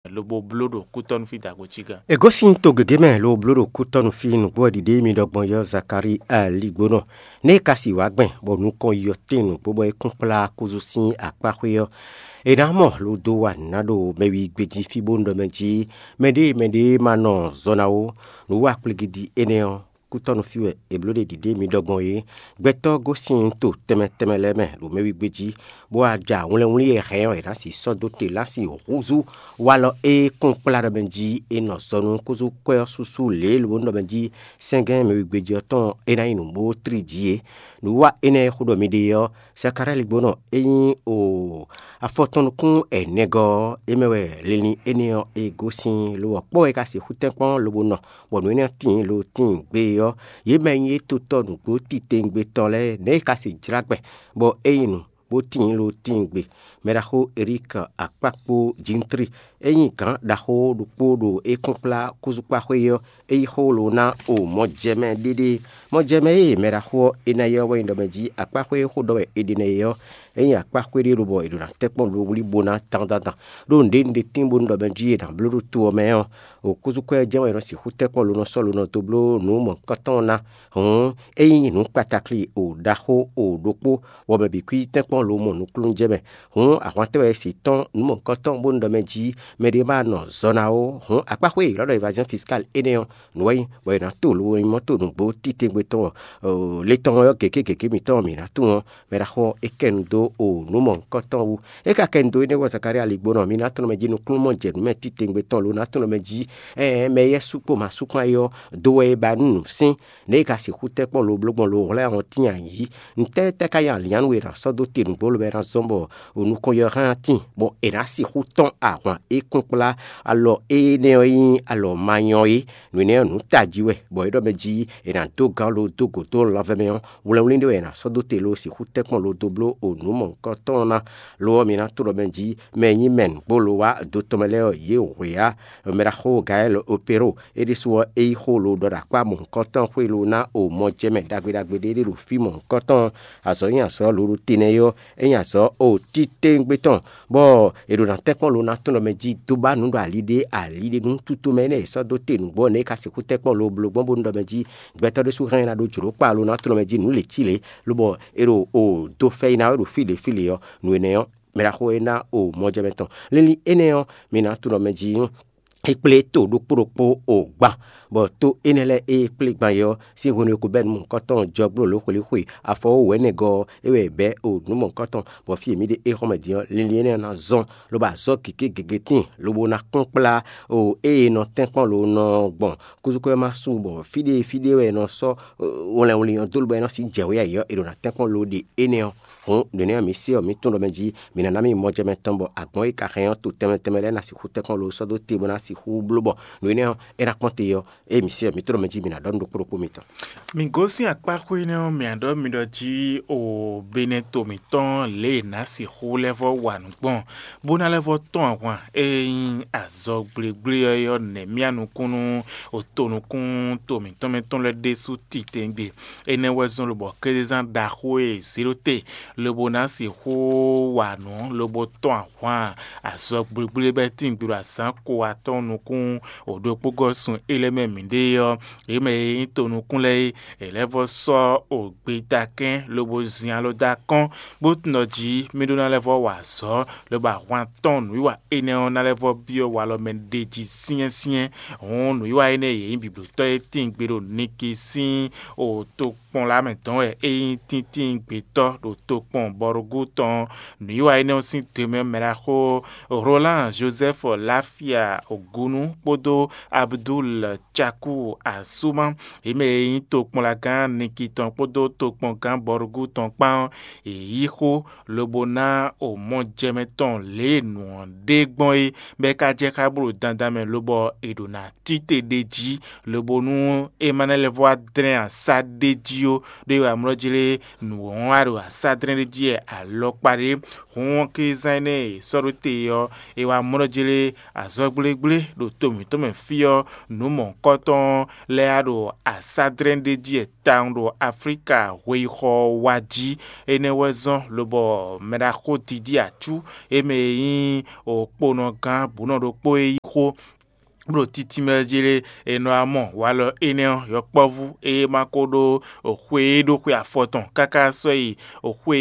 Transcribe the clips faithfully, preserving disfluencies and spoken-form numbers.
lobo bló ɖo kútɔ́nú fí dagbo cí gán. È gosín to gěgé mɛ ló bló ɖo kútɔ́nú fí nǔgbó ɔ́ ɖiɖe mì ɖɔgbɔn yɔ́ Zakalíi ali gbónɔ. Nɛ́ é ka si wǎ gbɛn bɔ nukɔn yɔ tíin nǔgbó bɔ é kún kplá kúzú sín akpáxwé ɔ́, è nǎ mɔ ló dó wa nǔ ná ɖo mɛwi gbejí fí bó ɖɔ mɛ jí mɛɖée mɛɖée ma nɔ zɔ ná ó. Nǔ wa kplígídí énɛ́ ɔ́, kútɔ́nú fí wɛ è bló ɖe ɖiɖe mì ɖɔgbɔn é. Gbɛtɔ́ gosín to tɛnmɛ tɛnmɛ lɛ́ɛ mɛ ɖo mɛwi gbejí, bó wá ja wlɛnwlí e hɛn ɔ́ è nǎ si sɔ́ dó te lá si húzú walɔ e kún kplá ɖɔ mɛ jí è nɔ zɔ nú kúzú kwɛ́ ɔ́ súsú lě e lǒ nɔ mɛ jí sɛ́ngɛ́n mɛwígbéjí ɔ́ tɔn é ná nyí nǔ bó tlí jí é. Nǔwiwa énɛ́ e xó ɖɔ mi ɖe ɔ́, Sakalali gbónɔ é nyí o afɔtɔn nukún ɛnɛgɔ́ ɔ́, é mɛ wɛ linlin énɛ́ ɔ́ e gosín lo ɔ́ kpɔ́ wɛ é ka sixú tɛ́nkpɔ́n lobo nɔ, bɔ nǔ énɛ́ ɔ́ tíin lo tíin gbé ɔ́, yě mɛ e nyí étotɔ́ nǔgbó titewungbe tɔn lɛ́ɛ nɛ̌ è ka se jlá gbɛn, bɔ é nyí nǔ bó tíin lo tíin gbe. Mɛɖaxó Erík Akpákpó Jintri é nyí gǎn ɖaxó ɖokpó ɖo é kúnkplá kúzúkpáxwé ɔ́, é yí xó lo ná o mɔjɛmɛ ɖéɖé. Mɔjɛmɛ e mɛɖaxó ɔ́ é ná yɔ́ wɛ nyí ɖɔ mɛ jí akpáxwé e xó ɖɔ wɛ è ɖe nɛ́ é ɔ́, é nyí akpáxwé ɖé lobɔ è ɖo ná tɛ́nkpɔ́n lo wlí bó ná dandandan. Ɖó nǔɖé nǔɖé tíin bónú ɖɔ mɛ jí è nǎ bló ɖó to ɔ́ mɛ ɔ́, o kúzúkɔ́ ɛ jɛ́n wɛ è nɔ sixú tɛ́nkpɔ́n lo nɔ sɔ́ lo nɔ dó bló nǔ mɔ̌hunkɔtɔn ɔ́ ná. Hǔn é nyí nǔ kpatakli o ɖaxó o ɖokpó, bɔ mɛ bǐ kwí tɛ́nkpɔ́n lo mɔ nukúnnú jɛ mɛ. Hǔn ahwantɛ́ wɛ se tɔ́n nǔ mɔ̌hunkɔtɔn bónú ɖɔ mɛ jí mɛɖé ma nɔ zɔ ná ó. Hǔn akpáxwé élɔ́ ɖɔ évaziɔ́n fiskál énɛ́ ɔ́, nǔ wɛ nyí bɔ è nǎ to lo e nyí mɔ́to nǔgbó titewungbe tɔn ɔ́, le tɔn ɔ́ gěgé gěgé mitɔn ɔ́, mǐ ná tunwun ɔ́, mɛ ɖaxó ɔ́ é kɛ nu dó o nǔ mɔ̌hunkɔtɔn wú. É ka kɛ nu dó énɛ́ wú ɔ́, Zakalía ligbónɔ, mi ná tunwun mɛ jí nukúnnú mɔ jɛ nǔ mɛ titewungbe tɔn lo ná tunwun mɛ jí ɛɛ mɛ yɛ́ sú kpó ma sú kpán é ɔ́, dó wɛ é ba nú nǔ sín. Nɛ̌ è ka sixú tɛ́ kpɔ́n lo bló gbɔn lo hwlɛ́n ahɔn tíin ayǐ? Ntɛ́ tɛ́ ka nyí alǐnnyánú e è nǎ sɔ́ dó te nǔgbó lobɔ é ná zɔ́n bɔ nukɔn yɔ́ hán tíin, bɔ è nǎ sixú tɔ́n ahwan e kún kplá alɔ énɛ́ ɔ́ nyí alɔ ma nyɔ é? Nǔ énɛ́ ɔ́, nǔ tají wɛ, bɔ é ɖɔ mɛ jí è nǎ dó gǎn lo dó gǒ dó lanvɛ́ mɛ ɔ́, wlɛnwlín ɖé wɛ è nǎ sɔ́ dó te lo sixú tɛ́ kpɔ́n lo dó bló o nǔ mɔ̌hunkɔtɔn ɔ́ ná. Lo ɔ́, mi ná tunwun ɖɔ mɛ jí mɛ e nyí mɛ nǔgbó lo wá do tɔn mɛ lɛ́ɛ ɔ́, yě wě á. Mɛɖaxó Gayɛ́li Opero é ɖésú ɔ́, é yí xó lo ɖɔ ɖo akpá mɔ̌hunkɔtɔn xwé lo ná o mɔ jɛ mɛ ɖagbe ɖagbe ɖé ɖé ɖo fí mɔ̌hunkɔtɔn. Azɔ̌ nyí azɔ̌ lo ɖo te nɛ́ é ɔ́, é nyí azɔ̌ o titewungbe tɔn, bɔ è ɖo ná tɛ́nkpɔ́n lo ná tɔn ɖɔ mɛ jí dó ba nǔ ɖo ali ɖé ali ɖé nú tutomɛ énɛ́ è sɔ́ dó te nǔgbó ɔ́, nɛ̌ é ka sixú tɛ́nkpɔ́n lo bló gbɔn bónú ɖɔ mɛ jí gbɛtɔ́ ɖésú hɛn ná ɖó jlǒ kpa lo ná tɔn ɖɔ mɛ jí nǔ lě cí lě, lobɔ è ɖo o dó fɛ́ yi ná wɛ ɖo fí ɖě fí lě ɔ́, nǔ énɛ́ ɔ́, mɛ ɖaxó e ná o mɔjɛmɛ tɔn. Linlin énɛ́ ɔ́, mi ná tunwun ɖɔ mɛ jí é kplé to ɖokpó ɖokpó o gban, bɔ to énɛ́ lɛ́ɛ e é kplé gban é ɔ́, sín hwenu e ko bɛ́ nǔ mɔ̌hunkɔtɔn jɔ gbló lǒ xwelíxwe afɔ ó wɛ̌nɛgɔ́ ɔ́, é wɛ è bɛ̌ o nǔ mɔ̌hunkɔtɔn, bɔ fí e mǐ ɖe é xɔ́ mɛ din ɔ́, linlin énɛ́ ɔ́ ná zɔ́n, lobo azɔ̌ gěgé gěgé tíin, lobo ná kplɔ́n kplá o ée è nɔ tɛ́nkpɔ́n lo nɔ gbɔn kúzúkúzú ma su bɔ fí ɖé fí ɖé wɛ è nɔ sɔ́ wlɛnwlin ɔ́ dó lobɔ é nɔ sixú jɛ wě ayǐ ɔ́, è ɖo ná tɛ́nkpɔ́n lo ɖe énɛ́ ɔ́. Hǔn nǔ énɛ́ ɔ́, mi se ɔ́, mi tunwun ɖɔ mɛ jí mi ná ná mì mɔ jɛ mɛ tɔn bɔ agbɔ̌n e ka hɛn ɔ́ to tɛnmɛ tɛnmɛ lɛ́ɛ ná sixú tɛ́nkpɔ́n lo sɔ́ dó te bó ná sixú bló bɔ nǔ énɛ́ ɔ́, é ná kpɔ́n te ɔ́, ée mi se ɔ́, mi tunwun ɖɔ mɛ jí mi ná ɖɔ nú ɖokpó ɖokpó mitɔn. Mi gosín akpáxwé énɛ́ ɔ́, mǐ ɖɔ mi ɖɔ jí o Benɛto mǐtɔn lě e è nǎ sixú lɛ́ vɔ́ wa nǔ gbɔn, bó ná lɛ́ vɔ́ tɔ́n ahwan e nyí azɔgblégblé ɔ́ é ɔ́ nɛ̌ mía nukún nú otonukún to mǐtɔn mɛ tɔn lɛ́ɛ ɖésú titewungbe. Énɛ́ wɛ zɔ́n lobɔ kézezán ɖaxó e è zě ɖó te lobo ná sixú wa nǔ lobo tɔ́n ahwan azɔgblégblé bɛ́ tín gbe ɖo azǎn ko atɔ́ɔ́n nukún o ɖokpó gɔ́ sun é lɛ́ɛ mɛ mǐɖée ɔ́, yě mɛ e nyí tonukún lɛ́ɛ é, è lɛ́ vɔ́ sɔ́ o gbeta kɛ́n lobo zin alɔ dó akɔ́n, bó tunwun ɖɔ jí mì ɖó ná lɛ́ vɔ́ wa azɔ̌, lobo ahwan tɔn nǔwiwa énɛ́ ɔ́ ná lɛ́ vɔ́ byɔ́ walɔ mɛ ɖ'é jí syɛ́nsyɛ́n. Hǔn nǔwiwa énɛ́ e yě nyí biblotɔ́ e tíin gbe ɖo Niki sín o tokpɔn lɛ́ɛ mɛ dɔn wɛ é nyí tíntín gbětɔ́ ɖo tokpɔn Bɔrugú tɔn. Nǔwiwa énɛ́ ɔ́ sín te mɛ mɛ ɖaxó Roland Joseph Lafia Ogunu kpódó Abdul Chaku Asuma, yě mɛ e nyí tokpɔnlagán Niki tɔn kpódó tokpɔngán Bɔrugú tɔn kpán ɔ́, yě yí xó lobo ná o mɔjɛmɛ tɔn lě e nǔ ɔ́ ɖe gbɔn é, bɔ é ka jɛ xá bó ɖo dandan mɛ lobɔ è ɖo ná tite ɖ'é jí, lobo nú é ma ná lɛ́ vɔ́ wá dlɛ́n asá ɖ'é jí ó, ɖó é wɛ amlɔ́ jlé nǔ ɔ́ wá ɖo asá dlɛ́n ɖé jí wɛ alɔkpa ɖé. Hǔn ɔ́, Klízán énɛ́ e è sɔ́ ɖó te ɔ́, è wá mlɔ́ jlé azɔ̌gblégblégbé ɖo to mǐtɔn mɛ fí ɔ́, nǔ mɔ̌hunkɔtɔn lɛ́ɛ wá ɖo asádrɛ́n ɖé jí wɛ tawun ɖo Aflíka hweyixɔ ɔ́ wá jí. Énɛ́ wɛ zɔ́n lobɔ mɛɖaxó Didi Acú e mɛ e nyí okponɔgán bǔnɔ ɖokpó é yí xó ɖo títí mɛ jí lé, è nɔ wá mɔ walɔ énɛ́ ɔ́, yɔkpɔ́vú e ma ko ɖó xwe e ɖó xwe afɔ tɔn káká sɔ́ yi xwe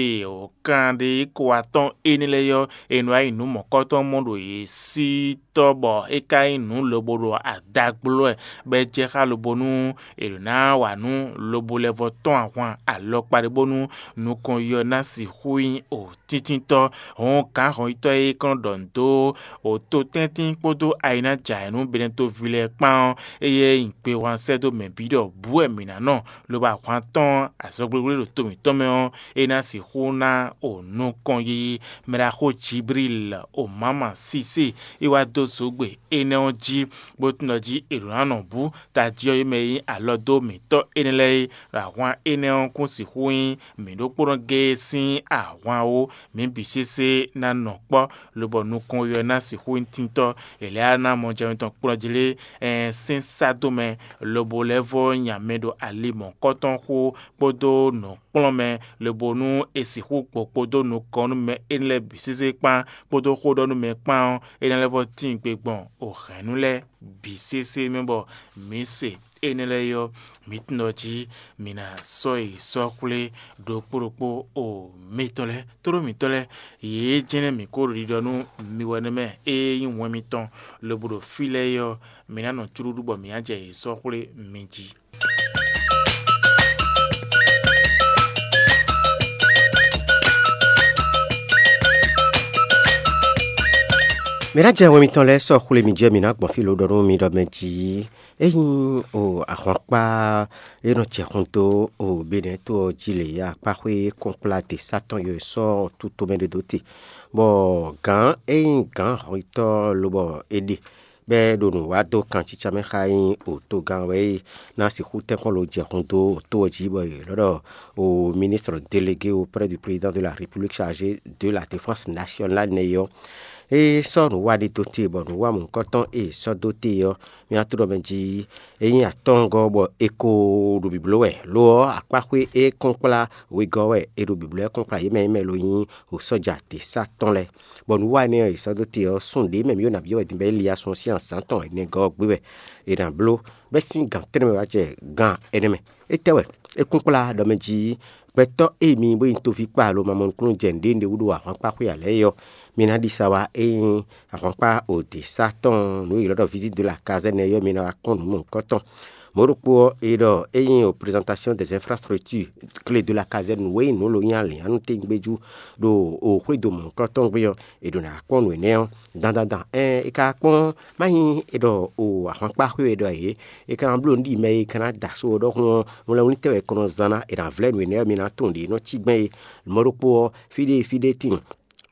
kanɖé ko atɔ́ɔ́n énɛ́ lɛ́ɛ ɔ́, è nɔ wá yi nǔ mɔ̌kɔtɔn mɔ ɖo yě sí tɔ́ bɔ é ka nyí nǔ lobo ɖo ada gbló wɛ, bɔ é jɛ xá lobo nú è ɖǒ ná wa nǔ lobo lɛ́ vɔ tɔ́n ahwan alɔkpa ɖé bónú nukɔn yi ɔ́ ná sixú nyí o tíntítɔ́. Hɔn gǎn hɔnyitɔ́ e kɔn ɖɔ nǔ dó o to tɛ́ntin kpódó ayinájǎ e nú Benɛtoví lɛ́ɛ kpán ɔ́, éyɛ́ nyí gbehwan sɛ́ dó mɛ bǐ ɖɔ bǔ wɛ mǐ ná nɔ, lobo ahwan tɔn azɔgblígbí ɖo to mǐtɔn mɛ ɔ́, é ná sixú ná o nukɔn yiyi. Mɛɖaxó Jiblíl o mǎma Sisée é wá dó zǒgbe énɛ́ ɔ́ jí, bó tunwun ɖɔ jí è ɖǒ ná nɔ bǔ tají ɔ́ yi mɛ e nyí alɔ dó mǐtɔn énɛ́ lɛ́ɛ é, ɖo ahwan énɛ́ ɔ́ kún sixú nyí mǐ ɖokpónɔ géé sín ahwan ó. Mǐ bǐ sésé ná nɔ kpɔ́, lobɔ nukɔn we ɔ́ ná sixú nyí tíntɔ́. È lɛ́ ná mɔ jɛ mitɔn kplɔ́n jí lé, ɛn sín sá dó mɛ, lobo lɛ́ vɔ́ nya mɛ ɖo ali mɔ̌hunkɔtɔn xó kpódó nǔkplɔ́nmɛ, lobo nú è sixú gbɔ kpódó nukɔn nú mɛ énɛ́ lɛ́ɛ bǐ sésé kpán kpódó xó ɖɔ nú mɛ kpán ɔ́, é ná lɛ́ vɔ́ tíin gbe gbɔn o hɛ̌nnu lɛ́ɛ bǐ sésé mɛ bɔ mǐ se énɛ́ lɛ́ɛ é ɔ́, mǐ tunwun ɖɔ jí mǐ ná sɔ́ yi sɔ́ xwlé ɖokpó ɖokpó o mitɔn lɛ́ɛ, tlóló mǐtɔn lɛ́ɛ, yě jɛ́n nɛ́ mǐ ko ɖo ɖiɖɔ nú mi wɛ nɛ́ mɛ e nyí wɛn mitɔn lobo ɖo fí lɛ́ɛ é ɔ́, mǐ ná nɔ cúɖúɖú bɔ mǐ ná jɛ yě sɔ́ xwlé mi jí. Mǐ ná jɛ wɛn mitɔn lɛ́ɛ sɔ́ xwlé mi jɛ mǐ ná gbɔn fí lo ɖɔ nú mi ɖɔ mɛ jí. Ényí o ahwankpá e nɔ jɛ hun dó o Benɛ́ to ɔ́ jí lě akpáxwé kɔnkplá de satɔn yɔ sɔ́ tutomɛ ɖé dó te, bɔ gǎn e nyí gǎn hɔnyitɔ́ lobɔ è ɖe bɔ é ɖo nǔ wa dó kancícá mɛ xá nyí o togán wɛ é ná sixú tɛ́nkpɔ́n lo jɛ hun dó o tó ɔ́ jí, bɔ è lɔ́ ɖɔ o ministre délégué auprès du président de la République chargé de la défense nationale nɛ́ ɔ́, é sɔ́ nǔ wa ɖé dó te, bɔ nǔ wa mɔ̌hunkɔtɔn e è sɔ́ dó te ɔ́, mì ná tunwun ɖɔ mɛ jí é nyí atɔ́ɔ́ngɔ́ bɔ è ko ɖo bǐbló wɛ. Lo ɔ́, akpáxwé e kɔn kplá wegɔ́ wɛ è ɖo bǐbló wɛ kɔn kplá yě mɛ e mɛ lo nyí o sɔ́ja tě sá tɔn lɛ́ɛ. Bɔ nǔ wa énɛ́ ɔ́, è sɔ́ dó te ɔ́, sun ɖě mɛ mǐ ɖo nǎ byɔ́ wɛ din bɔ é li asɔn sín azǎn tɔn ɛnɛgɔ́ ɔ́ gbé wɛ è nǎ bló, bɛ́ sín gan tɛ́nnɛ mɛ wá jɛ gan ɛnɛ mɛ. Étɛ́ wɛ? É kún kplá ɖɔ mɛ jí gbɛtɔ́ e mi bó nyí toví kpa lo ma mɔ nukúnnú jɛ nǔɖé nǔɖé wú ɖo ahwankpá xwé ǎ lɛ́ɛ é ɔ́, mi ná ɖi sa wá. Ényí ahwankpá òdě sá tɔn nǔ e ylɔ́ ɖɔ visite de la caserne ɔ́, mi ná wá kpɔ́n nǔ mɔ̌hunkɔtɔn. Mɔ̌ ɖokpó ɔ́, è ɖɔ ényí o présentation des infrastructures clé de la caserne nǔ e nyí nǔ lo nyí alǐnnyánú tɛ́ngbéjú ɖo o xwédo mɔ̌hunkɔtɔn gbe ɔ́, è ɖǒ ná kpɔ́n nǔ énɛ́ ɔ́ dandan dan. Ɛn è ka kpɔ́n má nyí è ɖɔ o ahwankpá xwé wɛ ɖɔ yě, è ka ná bló nǔ ɖi mɛ e ka ná da só ɔ́ ɖɔhun ɔ́, mlɔ́mlí tɛ́ wɛ è kɔn nɔ zán ná? È nǎ vlɛ́ nǔ énɛ́ ɔ́, mi ná tunwun ɖě nɔ cí gbɛn é. Mɔ̌ ɖokpó ɔ́, fí ɖé fí ɖé tíin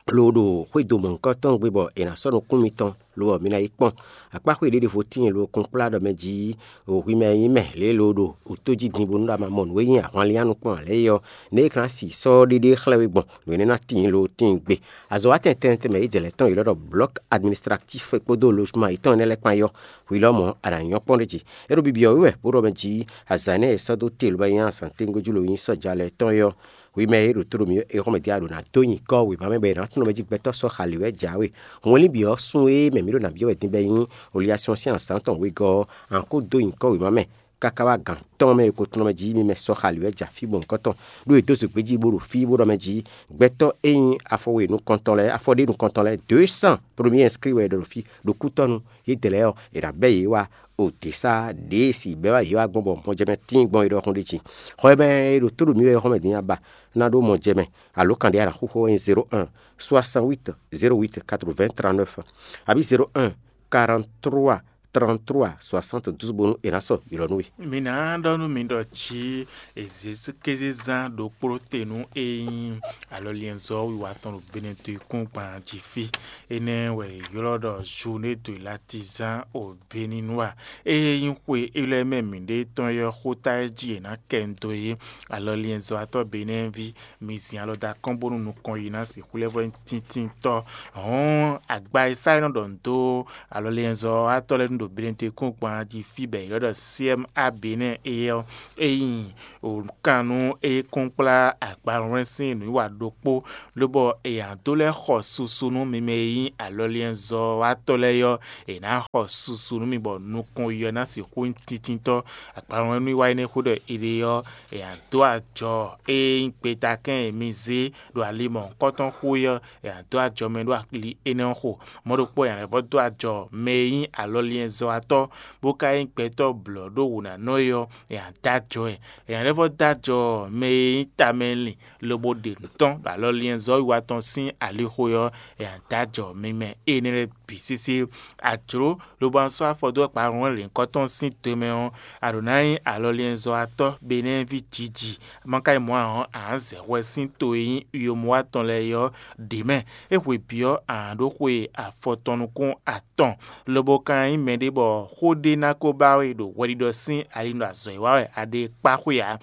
lo ɖo xwédo mɔ̌hunkɔtɔn gbe bɔ è nǎ sɔ́ nukún mitɔn lo ɔ́, mi ná yi kpɔ́n. Akpáxwé ɖěɖěvo tíin lo kún kplá ɖɔ mɛ jí hwi mɛ e nyí mɛ lě e lo ɖo wǔtó jí din bónú ɖɔ a ma mɔ nǔ e nyí ahwanlín nukplɔ́n ǎ lɛ́ɛ é ɔ́, nɛ̌ è ka ná si sɔ́ ɖéɖé xlɛ́ we gbɔn nǔ énɛ́ ná tíin lo tíin gbe. Azɔ̌watɛn tɛnmɛ tɛnmɛ yědɛɛ lɛ́ɛ tɔn e ylɔ́ ɖɔ blɔ̌k administratif kpódó lozuma yětɔn énɛ́ lɛ́ɛ kpán é ɔ́, hwi lɔmɔ̌ a nǎ nyɔ́ kpɔ́n ɖé jí. É ɖo bibyɔ́ wú wɛ bó ɖɔ mɛ jí azǎn énɛ́ e è sɔ́ dó te lobɔ é nyí azǎn téngójú lo nyí sɔ́ja lɛ́ɛ tɔn é ɔ́, hwi mɛ e ɖo tó ɖo mǐ é xɔ́mɛ din a ɖǒ ná dó nyǐkɔ wěma mɛ bɔ è nǎ tunwun mɛ jí gbɛtɔ́ sɔ́ xali wɛ jǎwe. Hwɛnlín bǐ ɔ́, sun e mɛ mǐ ɖo nǎ byɔ́ wɛ din bɔ é nyí Oliasɔ́n sín azǎn tɔn wegɔ́ ɔ́, a nǎ kó dó nyǐkɔ wěma mɛ káká wá gǎn tɔn mɛ e ko tunwun mɛ jí mi mɛ sɔ́ xali wɛ ja fí bɔ nǔkɔntɔn ɖó è dó zǒgbé jí bó ɖo fí bó ɖɔ mɛ jí gbɛtɔ́ e nyí afɔ we nukɔntɔn lɛ́ɛ, afɔ ɖé nukɔntɔn lɛ́ɛ deux cent premier inscrit wɛ è ɖɔ ɖo fí ɖo kútɔ́nu. Yědɛɛ lɛ́ɛ ɔ́, è nǎ bɛ́ yě wá o dě sá ɖě e si bɛ́ wá yě wá gbɔn bɔ mɔjɛmɛ tíin gbɔn é ɖɔhun ɖé jí. Xɔ e mɛ e ɖo tó ɖo mǐ wɛ é xɔ́mɛ din aba ná ɖó mɔjɛmɛ alo kan ɖé a nǎ xú xó wɛ nyí zéro un soixante huit zéro huit quatre vingt trente neuf abǐ zéro un quarante trois trente-trois soixante-douze bónú è nǎ sɔ́ ylɔ̌ nú we. Mi ná ɖɔ nú mi ɖɔ jí ezékézezán ɖokpló te nú e nyí alɔliɛnzɔ́ wiwa tɔn ɖo Benɛto yíkúngban jí fí. Énɛ́ wɛ è ylɔ́ ɖɔ Junédo Latizán Obéninúa. Ée nyí xwe élɔ́ mɛ mǐɖée tɔn é ɔ́, xóta e jí è nǎ kɛ nu dó é. Alɔliɛnzɔ́watɔ́ Benɛ́ɛví, mi zin alɔ dó akɔ́n bónú nukɔn yi ná sixú lɛ́ vɔ́ nyí tíntínntɔ́. Hɔ̌n, agba e sá é nɔ ɖɔ nǔ dó alɔliɛnzɔ́watɔ́ lɛ́ɛ nu ɖo Benɛto yíkúngban jí fí bɔ è ylɔ́ ɖɔ C M A Benɛ́ é ɔ́, é nyí wǒkan nú é kɔnkplá agbanwlɛ́n sín nǔwiwa ɖokpó, lobɔ è nǎ dó lɛ́ xɔ susu nú mi mɛ e nyí alɔliɛnzɔ́watɔ́ lɛ́ɛ ɔ́, è nǎ xɔ susu nú mi bɔ nukɔn yi ɔ́ ná sixú nyí tíntínntɔ́. Agbanwlɛ́n nú wiwa énɛ́ xó ɖɔ è ɖe ɔ́, è nǎ dó ajɔ e nyí gbetakɛ́n e mi zé ɖo ali mɔ̌hunkɔtɔn xó é ɔ́, è nǎ dó ajɔ mɛ ɖó ali énɛ́ ɔ́ xo. Mɔ̌ ɖokpó è nǎ lɛ́ vɔ́ dó ajɔ mɛ e nyí alɔliɛnzɔ́watɔ́, bó ka nyí gbɛtɔ́ blɔ̌ ɖó wǔnánɔ é ɔ́, è nǎ dó ajɔ ɛ. È nǎ lɛ́ vɔ́ dó ajɔ mɛ e nyí tamɛlin lobo ɖe nǔ tɔn ɖo alɔliɛnzɔ́ wiwa tɔn sín alixo ɔ́, è nǎ dó ajɔ mi mɛ énɛ́ lɛ́ɛ bǐ sésé. A jlǒ lobo ná sɔ́ afɔ dó akpawunwɛ lěhunkɔtɔn sín do mɛ ɔ́, a ɖǒ ná nyí alɔliɛnzɔ́watɔ́ Benɛ́ɛví jǐji. Ma ka nyí mɔ̌ ǎ ɔ́, a nǎ zɛ hwɛ sín to e nyí Wiyomuwa tɔn lɛ́ɛ é ɔ́ ɖě mɛ. É hwe bǐ ɔ́, a nǎ ɖó xwe afɔtɔn nukún atɔn, lobo ka nyí mɛɖé bɔ xó ɖé ná ko ba we ɖo hwɛɖiɖɔ sín ali ɖo azɔ̌ e wa wɛ a ɖe kpá xwe ǎ.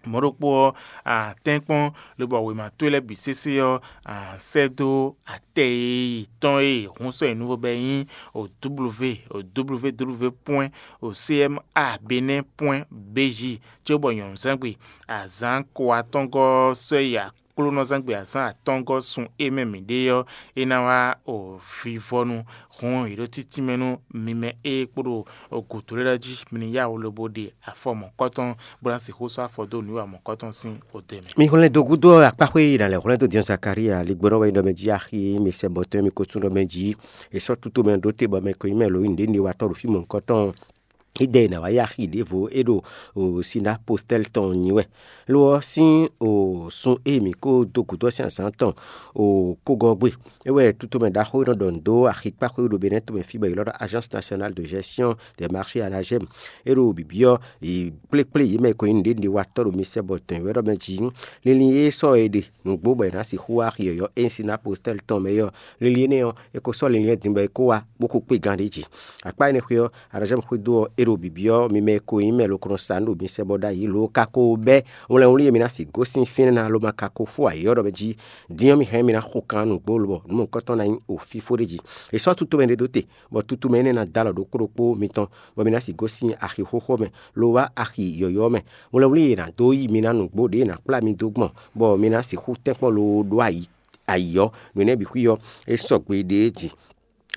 Mɔ̌ ɖokpó ɔ́, a tɛ́nkpɔ́n, lobo wěma towe lɛ́ɛ bǐ sésé ɔ́, a sɛ́ dó atɛ e tɔn e hun sɔ́ nyi nuvo bɔ é nyí o W o W W pwɛ́n o C M A Benɛ́ pwɛ́n B J, cóbɔ nyɔ̌nuzángbe azǎn ko atɔ́ngɔ́ ɔ́ sɔ́ yi aklúnɔzángbe azǎn atɔ́ngɔ́ sun e mɛ mǐ ɖe ɔ́, é ná wá o vivɔnu. Hɔn è ɖó títínmɛ nú mi mɛ e kpo ɖo gǔdo lɛ́ɛ jí, mi ní yá wǔ lobo ɖe afɔ mɔ̌kɔtɔn, bó ná sixú sɔ́ afɔ dó nǔwiwa mɔ̌kɔtɔn sín odɛ́ mɛ. Mi hwlɛ́n dó gúdo akpáxwé e nǎ lɛ́ hwlɛ́n dó din Zakalía ligbɔ́nɔ wɛ nyí ɖɔ mɛ jí axi e mi sɛ bɔ tɔn e mi ko tún ɖɔ mɛ jí. È sɔ́ tutomɛ ɖó te bɔ mɛ ko nyí mɛ lǒ nyí nǔɖé ɖe watɔ́ ɖo fí mɔ̌hunkɔtɔn. Ídɛ e nǎ wá yí axi ɖěvo é ɖo sinapostɛ́li tɔn nyi wɛ. Lo ɔ́, sín sun e mǐ ko dó gǔdo ɔ́ sín azǎn tɔn kógɔ́ gbe. É wɛ tutomɛ ɖaxó e nɔ ɖɔ nǔ dó axikpáxwé ɖo Benɛ́ tomɛ fí bɔ è ylɔ́ ɖɔ Agence Nationale de Gestion des Marchés, ANAGEM, é ɖo bǐbí ɔ́, yi kplékplé yě mɛ e ko nyí nǔɖénúɖéwatɔ́ ɖo misɛ́bɔ tɔn wɛ ɖɔ mɛ jí. Linlin e sɔ́ è ɖe nǔgbó bɔ è nǎ sixú wá axi yɔ̌yɔ́ e nyí sinapostɛ́li tɔn mɛ é ɔ́, linlin énɛ́ ɔ́, è ko sɔ́ linlin ɔ́ din bɔ é kó wá bó kó kpé gán ɖé jí. Akpá énɛ́ xwé ɔ́, Aɖɔ̌jɛ́mɛ xwédo ɔ́, é ɖo bǐbí ɔ́, mi mɛ e ko nyí mɛ loklɔ́n sa nǔ ɖo mi sɛ bɔ ɖ'ayǐ lo ka ko bɛ́ wlɛnwlí e mi ná sixú gosín fínɛ́ ná lo ma ka ko fó ayǐ ɔ́ ɖɔ mɛ jí. Din ɔ́, mi hɛn mi ná xo kan nǔgbó lobɔ nǔ mɔ̌hunkɔtɔn ná nyí o fífó ɖé jí. È sɔ́ tutomɛ ɖé dó te, bɔ tutomɛ énɛ́ ná dó alɔ ɖokpó ɖokpó mitɔn, bɔ mi ná sixú gosín axi xóxó mɛ, lo wá axi yɔ̌yɔ́ mɛ. Wlɛnwlí e è nǎ dó yí mi ná nǔgbó ɖě è nǎ kplá mi dó gbɔn, bɔ mi ná sixú tɛ́nkpɔ́n loo ɖó ayǐ ayǐ ɔ́, nǔ énɛ́ bǐ xwí ɔ́, é sɔgbe ɖě jí.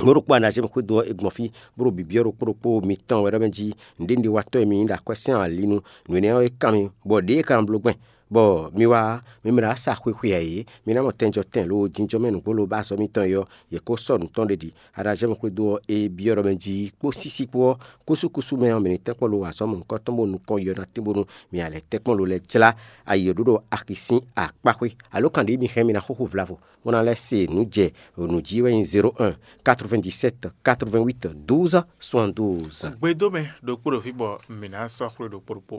Mɔ̌ ɖokpó Anazímu xwédo ɔ́, è gbɔn fí, bó ɖo bǐbí ɔ́ ɖokpó ɖokpó mitɔn wɛ ɖɔ mɛ jí, nǔɖé nǔɖé wa tɔ́ e mi nyí ɖo akwɛ́ sín ali nu, nǔ énɛ́ ɔ́, é kan mi, bɔ ɖěe è ka nɔ bló gbɛn, bɔ mi wá, mi mɛ ɖo sa xwexwe ǎ é, mi ná mɔ tɛnjɔtɛn lo jínjɔ́n mɛ nǔgbó lo ba azɔ̌ mitɔn é ɔ́, yě kó sɔ́ nǔ tɔn ɖě ɖi. Anazímu xwédo ɔ́, è byɔ́ ɖɔ mɛ jí kpó sísí kpó ɔ́, kúsúkúsú mɛ ɔ́, mi ní tɛ́nkpɔ́n lo wa azɔ̌ mɔ̌hunkɔtɔn bó nukɔn yɔ ná tín bónú mi ǎ lɛ́ tɛ́nkpɔ́n lo lɛ́ jlá ayi e ɖǒ ɖo axi sín akpáxwé. Alo kan ɖě mi hɛn mi ná xúxú vlavo, bó ná lɛ́ se nǔ jɛ nǔ jí wɛ nyí zéro un, quatre-vingt-dix-sept, quatre-vingt-huit, douze, soixante-douze. Gbedó mɛ ɖokpó ɖo fí bɔ mǐ ná sɔ́ xwlé ɖokpó ɖokpó.